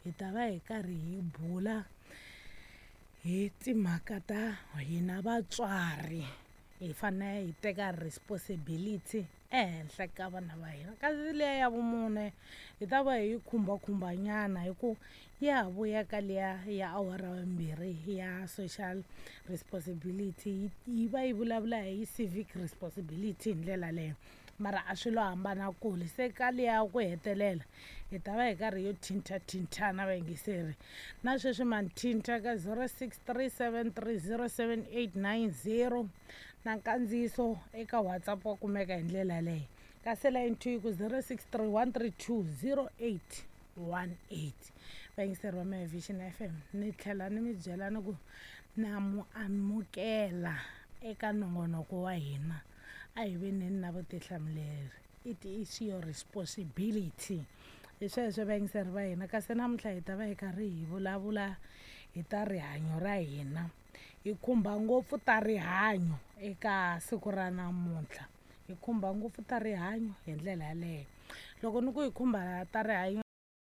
Hi ta va hi karhi hi bula hi timhaka ta hina vatswari, hi fanele hi teka responsibility ehenhla ka vana va hina. Kasi liya ya vumune hi ta va hi khumbakhumba nyana hi ku ya ha vuya ka liya ya awara 2 ya social responsibility, yi va yi vulavula hi civic responsibility hi ndlela leyo, mara a swi lo hambana kule. Se ka liya ku hetelela hi ta va hi karhi yo thinthathintana vayingiseri. Na sweswi ma ni thintha ka 0637307890 na nkandziyiso eka WhatsApp wa kumeka hi ndlela yaleyo. Kasi line 2 yi ku 0631320818. Vayingiseri va Mehe Vision FM, ni tlhela ni mi byela ni ku na mu amukela eka nongonoko wa hina. A hi veneni na vutihlamuleri, it is your responsibility. Hi sweswo vayingiseri va hina, kasi namuntlha hi ta va hi karhi hi vulavula hi ta rihanyo ra hina. Hi khumba ngopfu ta rihanyo eka siku ra namuntlha, hi khumba ngopfu ta rihanyo hi ndlela yaleyo. Loko ni ku hi khumba ta rihanyo.